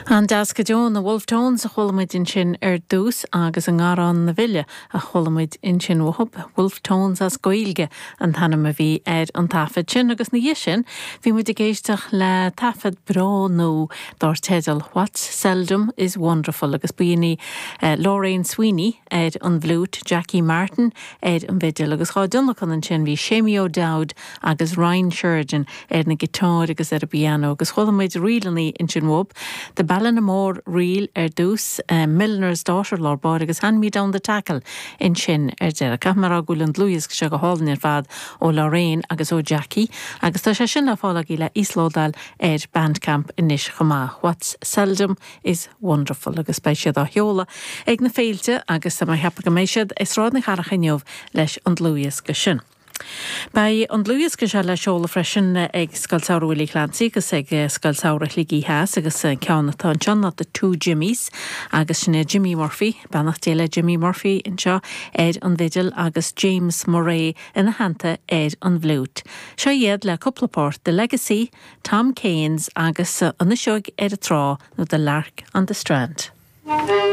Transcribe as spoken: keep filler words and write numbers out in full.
An-deas go deo na Wolfe Tones a chuala muid ansin ar dtús agus an Garrán na Bhile a chuala muid ansin uathu Wolfe Tones as Gaeilge an t-ainm a bhí ar an taifead sin agus ina dhiaidh sin bhí muid ag éisteacht le taifead breá nua dar teideal What's Seldom is Wonderful agus b'in í uh, Lorraine Sweeney ar an bhfliúit Jackie Martin ar an bhfidil agus dhá dtionlacan ansin bhí Séamie O'Dowd agus Ryan Sheridan ar na giotáir agus ar an bpianó agus chuala muid ríleanna ansin uathu. The Ballinamore Reel ar dtús uh, Milliner's Daughter lár báire agus Hand Me Down the Tackle ansin ar deireadh. Caithfidh mé a rá go bhfuil an dlúthdhiosca seo go hálainn ar fad ó Lorraine agus ó Jackie, agus tá sé sin le fáil le íoslódáil ar Bandcamp anois chomh maith. What's seldom is wonderful agus beidh siad á sheoladh ag na féilte agus tá mé ag ceapadh go mbeidh siad i Sráid na Cathrach inniu leis an dlúthdhiosca sin. Beidh an dlúthdhiosca seo le seoladh freisin ag Scoil Samhraidh Willie Clancy agus ag Scoil Samhraidh Shligigh Theas agus ceann atá anseo ná the Two Jimmies agus sin Jimmy Murphy, beannacht Dé le Jimmy Murphy anseo ar an bhfidil agus James Murray ina theannta ar an bhfliúit. Seo iad le cúpla port The Legacy, Tom Kane's agus an Fhuiseog ar an trá nó The Lark on the Strand.